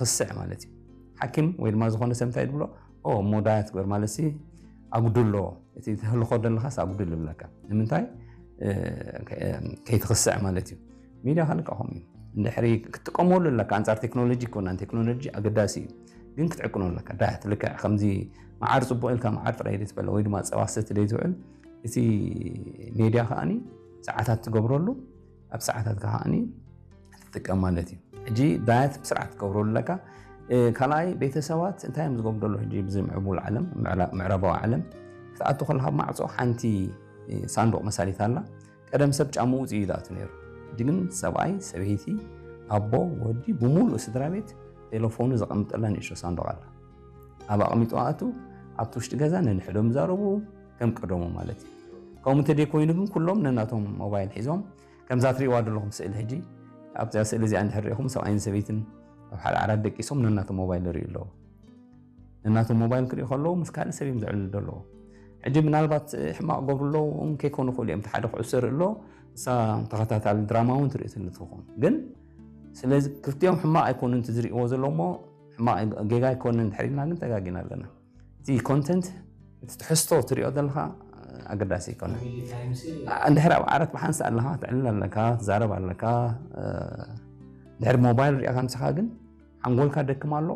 ክስዕ ማለት እዩ። ሓኪም ወይ ድማ ዝኾነ ሰብ እንታይ ድብሎ? ኦ፣ እሞ ዳያት ግበር ማለት ሲ ኣጉድሎ፣ እቲ ተህልኾ ዘለኻስ ኣጉድል ይብለካ። ንምንታይ? ከይትኽስዕ ማለት እዩ። ሚድያ ካልካ ከምኡ እዩ። እንድሕሪ ክትጥቀመሉ ኣለካ፣ ኣንጻር ቴክኖሎጂ ይኮናን፣ ቴክኖሎጂ ኣገዳሲ እዩ፣ ግን ክትዕቅኖ ኣለካ። ዳያት ልክዕ ከምዚ መዓር ጽቡቕ ኢልካ መዓር ጥራይ ደይ ትበለ ወይ ድማ ጸባ ሰቲ ደይ ትውዕል፣ እቲ ሜድያ ከኣኒ ሰዓታት ትገብረሉ፣ ኣብ ሰዓታት ከኣኒ ትጥቀም ማለት እዩ። ሕጂ ዳያት ብስርዓት ትገብረሉ ኣለካ። ካልኣይ ቤተሰባት እንታይ እዮም ዝገብሩ ዘለዉ? ሕጂ ብዚ ምዕቡል ዓለም፣ ምዕራባዊ ዓለም ክትኣቱ ከለካ ኣብ ማዕፆ ሓንቲ ሳንዱቕ መሳሊት ኣላ። ቀደም ሰብ ጫምኡ ውፅኡ እዩ ዝኣቱ ነይሩ። ሕጂ ግን ሰብኣይ፣ ሰበይቲ፣ ኣቦ፣ ወዲ፣ ብምሉእ ስድራ ቤት ቴሌፎኑ ዘቐምጠላ ንእሽቶ ሳንዱቕ ኣላ። ኣብ ኣቕሚጡ ኣእቱ፣ ኣብቲ ውሽጢ ገዛ ነንሕዶም ይዛረቡ፣ ከም ቀደሙ ማለት እዩ። ከምኡ እንተደይኮይኑ ግን ኩሎም ነናቶም ሞባይል ሒዞም፣ ከምዛ ትሪእዋ ዘለኹም ስእሊ ሕጂ፣ ኣብዛ ስእሊ እዚኣ እንድሕር ሪኢኹም ሰብኣይን ሰበይትን ኣብ ሓደ ዓራት ደቂሶም ነናቶም ሞባይል ይርእዩ ኣለዉ። ነናቶም ሞባይል ክርእዩ ከለዉ ምስ ካልእ ሰብ እዮም ዘዕልሉ ዘለዉ። ሕጂ ምናልባት ሕማቕ ገብሩ ኣለዉ እውን ከይኮኑ ይኽእሉ እዮም። እቲ ሓደ ኩዕሶ ይርኢ ኣሎ፣ እሳ ተኸታታሊ ድራማ እውን ትርኢ ትህሉ ትኸውን። ግን ስለዚ ክልቲኦም ሕማቕ ኣይኮኑን እቲ ዝርእይዎ ዘሎ እሞ ሕማቕ ጌጋ ኣይኮነን እንድሕር ኢልና ግን ተጋጊና ኣለና። እቲ ኮንተንት እቲ ትሕዝቶ ትሪኦ ዘለኻ ኣገዳሲ ኣይኮነን። እንድሕር ኣብ ዓራት ብሓንሳእ ኣለኻ፣ ትዕልል ኣለካ፣ ትዛረብ ኣለካ፣ እንድሕር ሞባይል ሪእኻ ምሳኻ ግን ሓንጎልካ ደክም ኣሎ፣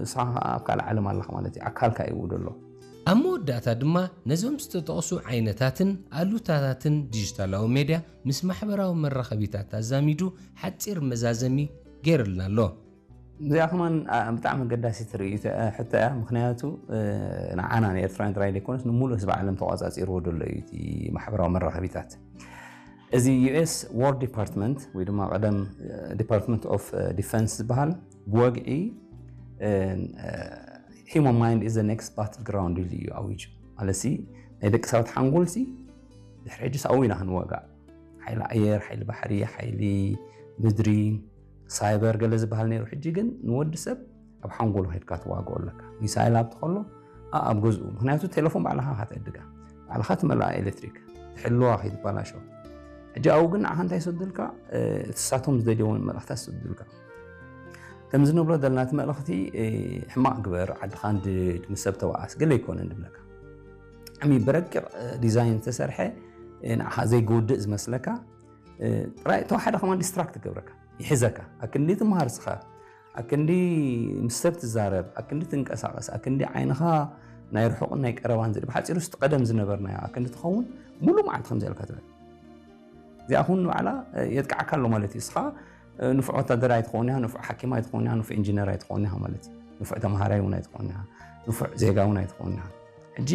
ንስኻ ኣብ ካልእ ዓለም ኣለኻ ማለት እዩ። ኣካልካ እዩ ዘሎ። ኣብ መወዳእታ ድማ ነዞም ዝተጠቕሱ ዓይነታትን ኣሉታታትን ዲጂታላዊ ሜድያ ምስ ማሕበራዊ መራኸቢታት ኣዛሚዱ ሓጺር መዛዘሚ ገይርልና ኣሎ። እዚኣ ከማን ብጣዕሚ ኣገዳሲ ትርኢ ሕቶ እያ። ምክንያቱ ንዓና ንኤርትራውያን ጥራይ ዘይኮነስ ንሙሉእ ህዝቢ ዓለም ተቋጻጺርዎ ዘሎ እዩ እቲ ማሕበራዊ መራኸቢታት። እዚ ዩ ኤስ ዋር ዲፓርትመንት ወይ ድማ ቀደም ዲፓርትመንት ኦፍ ዲፈንስ ዝበሃል ብወግዒ human mind is the next battle ground ኢሉ እዩ ኣዊጁ። ማለትሲ ናይ ደቂ ሰባት ሓንጎልሲ ድሕሪ ሕጂ ሳኡ ኢና ክንወጋእ። ሓይሊ ኣየር፣ ሓይሊ ባሕሪ፣ ሓይሊ ምድሪ፣ ሳይበር ገለ ዝበሃል ነይሩ። ሕጂ ግን ንወዲ ሰብ ኣብ ሓንጎሉ ከድካ ትዋግኦ ኣለካ። ሚሳይል ኣብቲ ከሎ ኣብ ገዝኡ፣ ምክንያቱ ቴሌፎን ባዕልኻ ካትዕድጋ፣ ባዕልኻ ትመልኣ ኤሌክትሪክ፣ ትሕልዋ ከይትባላሾ። ሕጂ ኣብኡ ግን ንዓኻ እንታይ ይሰዱልካ? እቲ ሳቶም ዝደልየዎ መልእኽታት ይሰዱልካ። ከምዚ ንብሎ ዘለና እቲ መልእኽቲ ሕማቕ ግበር፣ ዓድኻ ንድድ፣ ምስ ሰብ ተባኣስ፣ ገለ ኣይኮነን ድብለካ። ብጣዕሚ ብረቂቕ ዲዛይን ዝተሰርሐ ንዓኻ ዘይጎድእ ዝመስለካ ጥራይ እቶ ሓደ ከማን ዲስትራክት ይገብረካ፣ ይሕዘካ። ኣክንዲ ትምሃር ስኻ፣ ኣክንዲ ምስ ሰብ ትዛረብ፣ ኣክንዲ ትንቀሳቐስ፣ ኣክንዲ ዓይንኻ ናይ ርሑቕን ናይ ቀረባን ዝርኢ ብሓጺሩ ስቲ ቀደም ዝነበርናዮ ኣክንዲ ትኸውን ሙሉ መዓልቲ ከምዚ ኢልካ ትብል። እዚኣ ኹን ንባዕላ የጥቅዓካ ኣሎ ማለት እዩ። እስኻ ንፉዕ ወታደር ኣይትኸውን ኢኻ፣ ንፉዕ ሓኪም ኣይትኸውን ኢኻ፣ ንፉዕ ኢንጂነር ኣይትኸውን ኢኻ ማለት እዩ። ንፉዕ ተምሃራይ እውን ኣይትኸውን ኢኻ፣ ንፉዕ ዜጋ እውን ኣይትኸውን ኢኻ። ሕጂ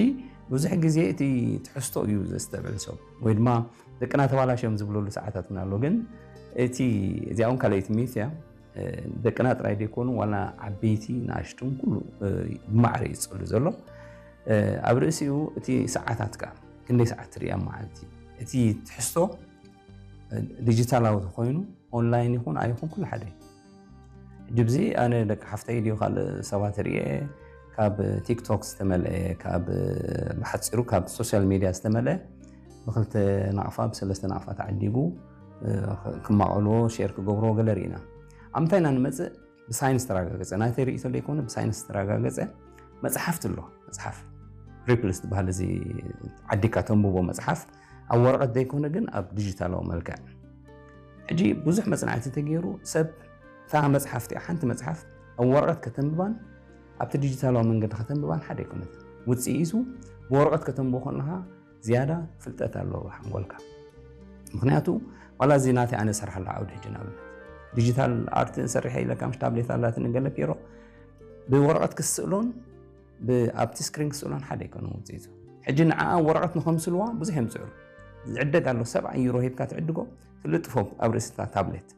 ብዙሕ ግዜ እቲ ትሕዝቶ እዩ ዘስተብዕል ሰብ ወይ ድማ ደቅና ተባላሽዮም ዝብለሉ ሰዓታት እውን ኣሎ። ግን እቲ እዚኣ እውን ካልኣይቲ ሚት እያ። ደቅና ጥራይ ደይኮኑ ዋላ ዓበይቲ ንኣሽቱን ኩሉ ብማዕረ እዩ ዝጸሉ ዘሎ። ኣብ ርእሲኡ እቲ ሰዓታት ከኣ ክንደይ ሰዓት ትርኢ ኣብ መዓልቲ? እቲ ትሕዝቶ ዲጂታላዊ ተኮይኑ ኦንላይን ይኹን ኣይኹን ኩሉ ሓደ እዩ። ሕጂ ብዚ ኣነ ደቂ ሓፍተይ ድዩ ካልእ ሰባት ርእየ ካብ ቲክቶክ ዝተመልአ ካብ ብሓፂሩ ካብ ሶሻል ሚድያ ዝተመልአ ብክልተ ናቕፋ ብሰለስተ ናቕፋ ተዓዲጉ ክማቐልዎ ሼር ክገብርዎ ገለ ርኢና። ኣብ ምንታይ ኢና ንመፅእ? ብሳይንስ ተረጋገፀ ናተይ ርእይቶ ዘይኮነ ብሳይንስ ተረጋገፀ መፅሓፍቲ ኣሎ። መፅሓፍ ሪፕልስ ዝበሃል እዚ ዓዲካ ተንብቦ መፅሓፍ ኣብ ወረቐት ዘይኮነ ግን ኣብ ዲጂታላዊ መልክዕ። ሕጂ ብዙሕ መፅናዕቲ ተገይሩ ሰብ እታ መፅሓፍ እቲኣ ሓንቲ መፅሓፍ ኣብ ወረቐት ከተንብባን ኣብቲ ዲጂታላዊ መንገዲ ከተንብባን ሓደ ኣይኮነት። ውፅኢቱ ብወረቐት ከተንብቦ ከለካ ዝያዳ ፍልጠት ኣለዎ ሓንጎልካ። ምክንያቱ ዋላ እዚ ናተይ ኣነ ዝሰርሓሉ ዓውዲ ሕጂ ንኣብነት ዲጂታል ኣርት ሰሪሐ ኢለካ ምስ ታብሌት ኣላትኒ ገለ ፒሮ ብወረቐት ክስእሎን ኣብቲ ስክሪን ክስእሎን ሓደ ኣይኮነን ውፅኢቱ። ሕጂ ንዓኣ ወረቐት ንኸምስልዋ ብዙሕ እዮም ዝፅዕሩ። ዝዕደግ ኣሎ ሰብዓ ዩሮ ሂብካ ትዕድጎ ትልጥፎ ኣብ ርእሲ እታ ታብሌት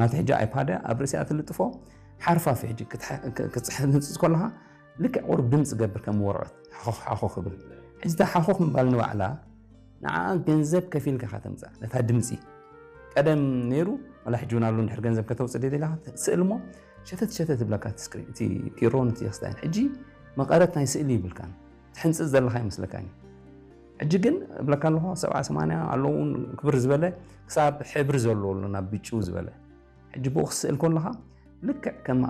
ናቲ ሕጂ ኣይፓድ ኣብ ርእሲኣ ትልጥፎ ሓርፋፊ ሕጂ ክትፅሕፍ ንፅፅ ከለካ ልክዕ ቁሩብ ድምፂ ገብር ከም ወረቐት ሓኾኽ ሓኾኽ ክብል። ሕጂ እታ ሓኾኽ ምባል ንባዕላ ንዓኣ ገንዘብ ከፊልካ ኢኻ ተምፅኣ ነታ ድምፂ። ቀደም ነይሩ ዋላ ሕጂ እውን ኣሎ እንድሕር ገንዘብ ከተውፅእ ደሊኻ ስእል እሞ ሸተት ሸተት ይብለካ እቲ ስክሪን እቲ ፒሮን እቲ ክስታይን። ሕጂ መቐረት ናይ ስእሊ ይብልካን ትሕንፅፅ ዘለኻ ይመስለካን እዩ። ሕጂ ግን እብለካ ኣለኹ ሰብዓ ሰማንያ ኣለዉ እውን ክብር ዝበለ ክሳብ ሕብሪ ዘለዎ ኣሎ ናብ ብጭው ዝበለ። ሕጂ ብኡ ክስእል ከለኻ ልክዕ ከም